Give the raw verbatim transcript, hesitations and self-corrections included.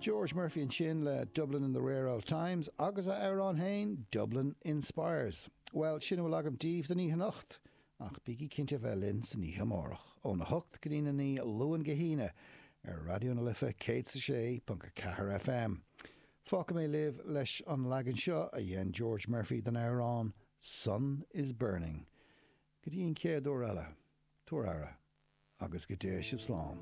George Murphy ansin le Dublin in the Rare Old Times agus a amhrán féin Dublin Inspires. Well sin a bhfuil agam daoibh don oíche anocht, ach bígí cinnte bheith linn san oíche amárach óna hocht go dtí a naoi Luan go hAoine ar Raidió na Life céad is a sé ponc a ceathair FM. Fágfaidh mé libh leis an leagan seo a dhein George Murphy den amhrán Sun is Burning. Go dtí an chéad uair eile, tabhair aire agus go dté sibh slán.